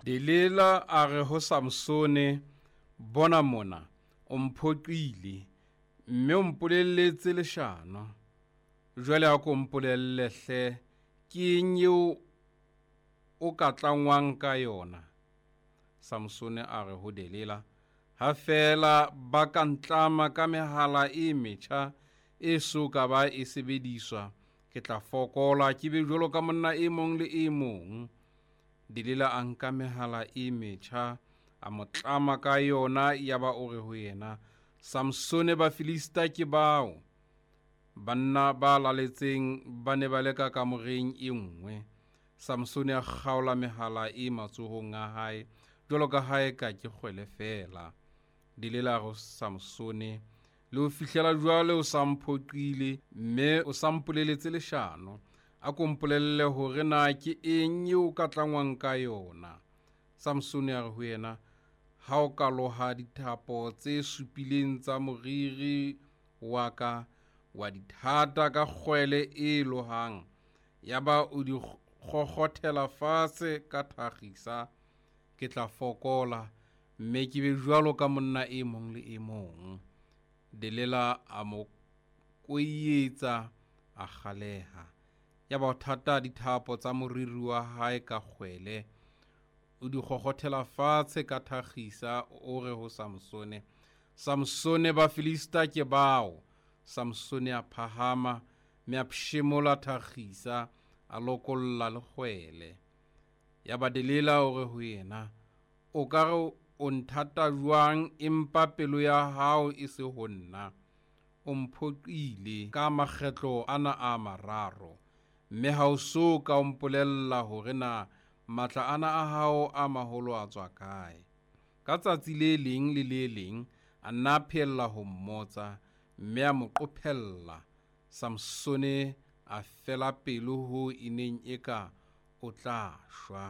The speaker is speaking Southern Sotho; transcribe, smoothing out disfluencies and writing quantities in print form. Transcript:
Delila a re ho Samsone, Bona mona, o mphoqile, mme o mpolelletse leshano. Jwale ako mpolelle hle, ke eng eo o ka tlangwang ka yona? Samsone a re ho Delila, Ha feela ba ka ntlama ka mehala e metjha e so ka ba e sebediswa, ke tla fokola, ke be jwalo ka monna e mong le e mong. Delila a nka mehala e metjha, a mo tlama ka yona, yaba o re ho yena, Samsone, Bafilista ke bao! Banna ba laletseng ba ne ba le ka kamoreng e nngwe. Samsone a kgaola mehala e matsohong a hae jwalo ka ha eka ke kgwele feela. Delila a re ho Samsone, Le ho fihlela jwale o sa mphoqile mme o sa mpoleletse leshano. A ko mpolelle hore na ke eng eo o ka tlangwang ka yona. Samsone a re ho yena, Ha o ka loha dithapo tse supileng tsa moriri wa ka, wa di thata ka kgwele e lohang, yaba o di kgokgothela fatshe ka thakgisa, ke tla fokola, mme ke be jwalo ka monna e mong le e mong. Delila a mo koietsa, a kgaleha. Yaba o thata dithapo tsa moriri wa hae ka kgwele, o di kgokgothela fatshe ka thakgisa, o re ho Samsone, Samsone, Bafilista ke bao! Samsone a phahama, mme a pshemola thakgisa, a lokolla le kgwele. Yaba Delila o re ho yena, O ka re o nthata jwang, empa pelo ya hao e se ho nna? O mphoqile ka makgetlo ana a mararo, mme ha o so ka o mpolella hore na matla ana a hao a maholo a tswa kae. Ka tsatsi le leng le le leng a nna a pheella ho mmotsa, mme a mo qophella. Samsone a fela pelo hoo e neng eka o tla shwa.